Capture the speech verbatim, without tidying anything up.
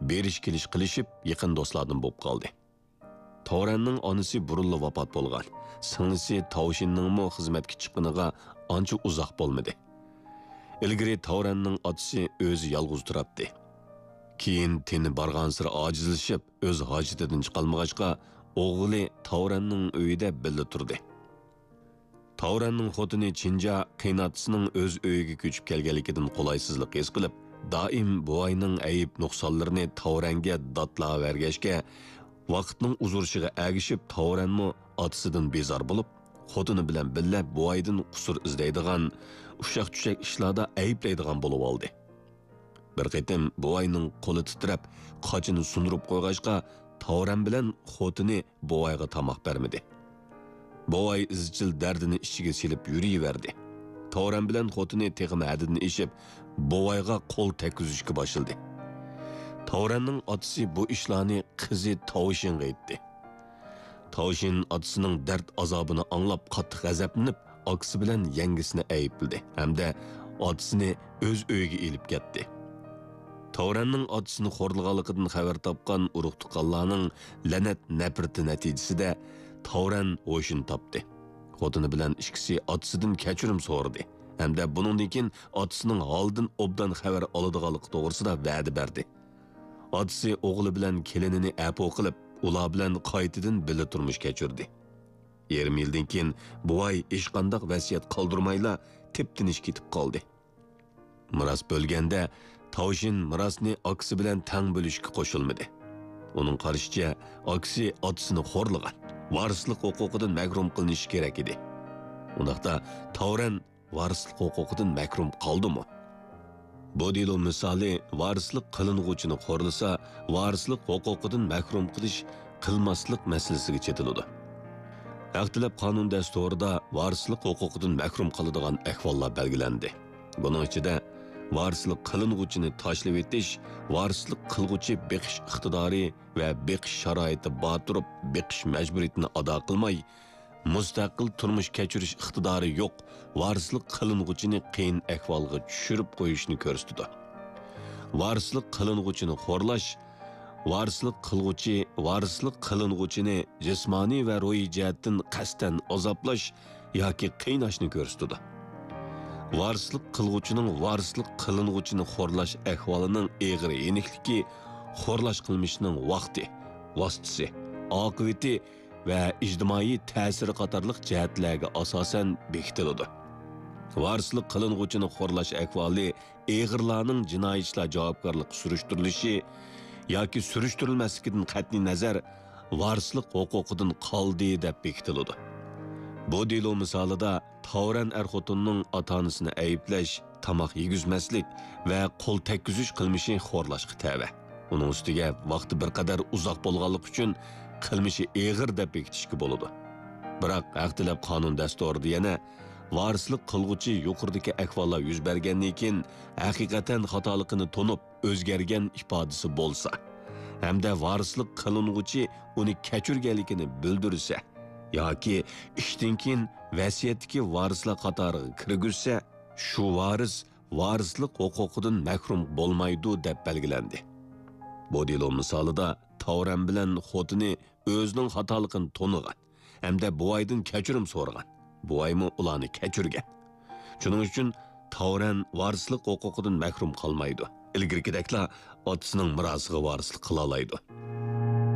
بېرىش-كېلىش قىلىشىپ، يېقىن دوستلاردىن بولۇپ قالدى. تاۋرەننىڭ ئانىسى بۇرۇنلا ۋاپات بولغان. سىڭلىسى تاۋشىننىڭمۇ خىزمەتكە چىققىنىغا ئانچە ئۇزاق بولمىدى. ئىلگىرى تاۋرەننىڭ ئاتىسى ئۆزى يالغۇز تۇراتتى. كېيىن تېنى بارغانسېرى ئاجىزلىشىپ، ئۆز ھاجىتىدىن چىقالمىغاچقا، ئوغلى تاۋرەننىڭ ئۆيىدە بىللە تۇردى. تاۋرەننىڭ خوتۇنى چىنجا قېيىنئاتىسىنىڭ ئۆز ئۆيىگە كۆچۈپ كەلگەنلىكىدىن قولايسىزلىق ھېس قىلىپ، دائىم بوۋاينىڭ ئەيىب-نۇقسانلىرىنى تاۋرەنگە داتلاۋەرگەچكە، ۋاقىتنىڭ ئۇزىرىشىغا ئەگىشىپ، تاۋرەنمۇ ئاتىسىدىن بىزار بولۇپ، خوتۇنى بىلەن بىللە بوۋايدىن قۇسۇر ئىزدەيدىغان، ئۇششاق-چۈششەك ئىشلاردا ئەيىبلەيدىغان بولۇۋالدى. بىر قېتىم بوۋاينىڭ قولى تىترەپ، قاچىنى سۇندۇرۇپ قويغاچقا، تاۋرەن بىلەن خوتۇنى بوۋايغا تاماق بەرمىدى. بوۋاي ئىزچىل دەردىنى ئىچىگە سېلىپ يۈرۈۋەردى. تاۋرەن بىلەن خوتۇنى تېخىمۇ ھەددىدىن ئېشىپ، بوۋايغا قول تەگكۈزۈشكە باشلىدى. تاۋرەننىڭ ئاتىسى بۇ ئىشلارنى قىزى تاۋشىنغا ئېيتتى. تاۋشىن ئاتىسىنىڭ دەرد-ئازابىنى ئاڭلاپ، قاتتىق غەزەپلىنىپ، ئاكىسى بىلەن يەڭگىسىنى ئەيىبلىدى ھەمدە ئاتىسىنى ئۆز ئۆيىگە ئېلىپ كەتتى. تاۋرەننىڭ ئاتىسىنى خورلىغانلىقىدىن خەۋەر تاپقان ئۇرۇق-تۇغقانلارنىڭ لەنەت-نەپرىتى نەتىجىسىدە، تاۋرەن ھوشىنى تاپتى. خوتۇنى بىلەن ئىككىسى ئاتىسىدىن كەچۈرۈم سورىدى ھەمدە بۇنىڭدىن كېيىن ئاتىسىنىڭ ھالىدىن ئوبدان خەۋەر ئالىدىغانلىقى توغرىسىدا ۋەدە بەردى. ئاتىسى ئوغلى بىلەن كېلىنىنى ئەپۇ قىلىپ، ئۇلار بىلەن قايتىدىن بىللە تۇرمۇش كەچۈردى. يېرىم يىلدىن كېيىن بوۋاي ھېچقانداق ۋەسىيەت قالدۇرمايلا تىپتىنىش كېتىپ قالدى. مىراس بۆلگەندە، تاۋشىن مىراسنى ئاكىسى بىلەن تەڭ بۆلۈشكە قوشۇلمىدى. ئۇنىڭ قارىشىچە، ئاكىسى ئاتىسىنى خورلىغان، ۋارىسلىق ھوقۇقىدىن مەھرۇم قىلىنىشى كېرەك ئىدى. ئۇنداقتا، تاۋرەن ۋارىسلىق ھوقۇقىدىن مەھرۇم قالدىمۇ؟ بۇ دېلو مىسالى ۋارىسلىق قىلىنغۇچىنى خورلىسا، ۋارىسلىق ھوقۇقىدىن مەھرۇم قىلىش، قىلماسلىق مەسىلىسىگە چېتىلىدۇ. ھەق تەلەپ قانۇن دەستۇرىدا ۋارىسلىق ھوقۇقىدىن مەھرۇم قالىدىغان ئەھۋاللار بەلگىلەندى. بۇنىڭ ئىچىدە، ۋارىسلىق قىلىنغۇچىنى تاشلىۋېتىش، ۋارىسلىق قىلغۇچى بېقىش ئىقتىدارى ۋە بېقىش شارائىتى بار تۇرۇپ، بېقىش مەجبۇرىيىتىنى ئادا قىلماي، مۇستەقىل تۇرمۇش كەچۈرۈش ئىقتىدارى يوق، ۋارىسلىق قىلىنغۇچىنى قىيىن ئەھۋالغا چۈشۈرۈپ قويۇشنى كۆرسىتىدۇ. ۋارىسلىق قىلىنغۇچىنى خورلاش، ۋارىسلىق قىلغۇچى، ۋارىسلىق قىلىنغۇچىنى جىسمانىي ۋە روھىي جەھەتتىن قەستەن ئازابلاش ياكى قىيناشنى كۆرسىتىدۇ. ۋارىسلىق قىلغۇچىنىڭ ۋارىسلىق قىلىنغۇچىنى خورلاش ئەھۋالىنىڭ ئېغىر يېنىكلىكى خورلاش قىلمىشىنىڭ ۋاقتى، ۋاسىتىسى، ئاقىۋىتى ۋە ئىجتىمائىي تەسىرى قاتارلىق جەھەتلەرگە ئاساسەن بېكىتىلىدۇ. ۋارىسلىق قىلىنغۇچىنى خورلاش ئەھۋالى ئېغىرلارنىڭ جىنايى ئىشلار جاۋابكارلىقى سۈرۈشتۈرۈلۈشى ياكى سۈرۈشتۈرۈلمەسلىكىدىن قەتئىينەزەر، ۋارىسلىق ھوقۇقىدىن قالدى دەپ بېكىتىلىدۇ. بۇ دېلو مىسالىدا تاۋرەن ئەر-خوتۇننىڭ ئاتا-ئانىسىنى ئەيىبلەش، تاماق يېگۈزمەسلىك ۋە قول تەگكۈزۈش قىلمىشى خورلاشقا تەۋە. ئۇنىڭ ئۈستىگە ۋاقتى بىر قەدەر ئۇزاق بولغانلىقى ئۈچۈن قىلمىشى ئېغىر دەپ بېكىتىشكە بولىدۇ. بىراق، ھەق تەلەپ قانۇن دەستۇرىدا يەنە ۋارىسلىق قىلغۇچى يۇقىرىدىكى ئەھۋاللار يۈز بەرگەندىن كېيىن ھەقىقەتەن خاتالىقىنى تونۇپ، ئۆزگەرگەن ئىپادىسى بولسا ھەمدە ۋارىسلىق قىلىنغۇچى ئۇنى كەچۈرگەنلىكىنى بىلدۈرسە ياكى ئىشتىن كېيىن ۋەسىيەتتىكى ۋارىسلار قاتارىغا كىرگۈزسە، شۇ ۋارىس ۋارىسلىق ھوقۇقىدىن مەھرۇم بولمايدۇ، دەپ بەلگىلەندى. بۇ دېلو مىسالىدا تاۋرەن بىلەن خوتۇنى ئۆزىنىڭ خاتالىقىنى تونۇغان ھەمدە بوۋايدىن كەچۈرۈم سورىغان. بوۋايمۇ ئۇلارنى كەچۈرگەن. شۇنىڭ ئۈچۈن تاۋرەن ۋارىسلىق ھوقۇقىدىن مەھرۇم قالمايدۇ. ئىلگىرىكىدەكلا ئاتىسىنىڭ مىراسىغا ۋارىسلىق قىلالايدۇ.